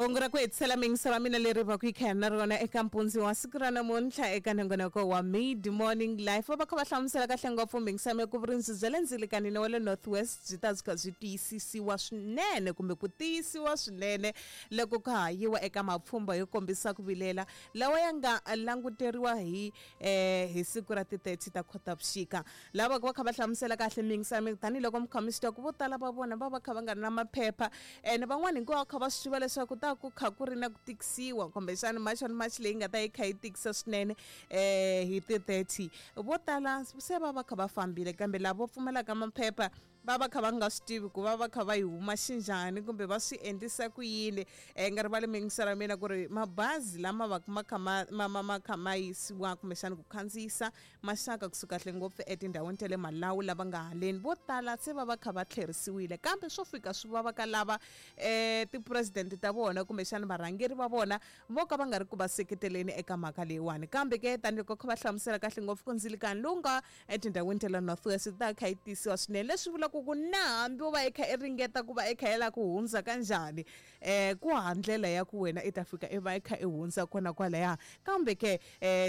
Kungu ra ku hetisela miyingiso ra mina leri va ku yi kha na rona eka mpundzu wa siku ra namuntlha eka nongonoko wa Mid Morning Life. Va va kha va hlamusela kahle ngopfu miyingiso ya mina ku vurindzi bya le ndzilikanini wa le North West byi ta byi kha byi tiyisisiwa swinene kumbe ku tiyisiwa swinene loko ka ha yiwa eka mapfhumba yo kombisa ku vilela lawa ya nga languteriwa hi hi siku ra ti-30 ta Khotavuxika. Lava va kha va hlamusela kahle miyingiso ya mina tanihiloko mi kha mi swi tiva ku vo tala va vona va va kha va nga ri na maphepha ene van'wana hinkwavo va kha va swi tiva leswaku ta ku kha ku ri na ku tikisiwa kumbexana March on March leyi nga ta yi kha yi tikisa swinene hi ti-30. Vo tala se va va kha va fambile kambe lava pfumalaka maphepha va va kha va nga swi tivi ku va va kha va yi huma xinjhani kumbe va swi endlisa ku yini. Nga rivali miyingiselo ya mina ku ri mabazi lama va ma kha ma ma ma ma kha ma yisiwa kumbexana ku khandziyisa maxaka kusuka kahle ngopfu etindhawini ta le Malawi lava nga haleni vo tala se va va kha va tlherisiwile kambe swo fika swi vava ka lava ti-president ta vona kumbexana varhangeri va vona vo ka va nga ri ku va seketeleni eka mhaka leyiwani. Kambe ke tanihiloko kha va hlamusela kahle ngopfu ku ndzilikani lowu nga etindhawini ta le North West yi ta kha yi tisiwa swinene leswi vulaka ku na hambi wo va i kha i ringeta ku va i kha i lava ku hundza ka njhani ku hava ndlela ya ku wena i ta fika i va i kha i hundza kona kwalaya. Kambe ke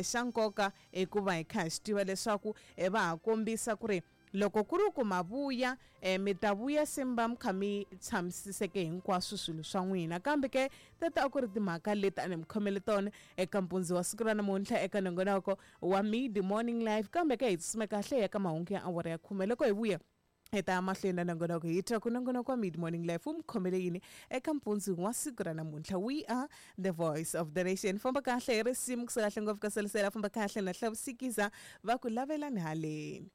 xa nkoka i ku va hi kha hi swi tiva leswaku va ha kombisa ku ri loko ku ri ku ma vuya mi ta vuya se mi va mi kha mi tshamisiseke hinkwaswo swilo swa n'wina. Kambe ke teto a ku ri timhaka leti a ni mi khomele tona eka mpundzu wa siku ra namuntlha eka nongonoko wa Mid Morning Live. Kambe ke hi tsutsuma kahle hi ya ka mahungu ya awara ya khume. Loko hi vuya hi ta ya mahlweni na nongonoko hi twa ku nongonoko wa Mid Morning Live wu mi khomele yini eka mpundzu wa siku ra namuntlha. We are the voice of the nation. Famba kahle hi risimu kusuka kahle ngopfu ka Selisela, famba kahle na Hlavusikiza va ku lavelani haleni.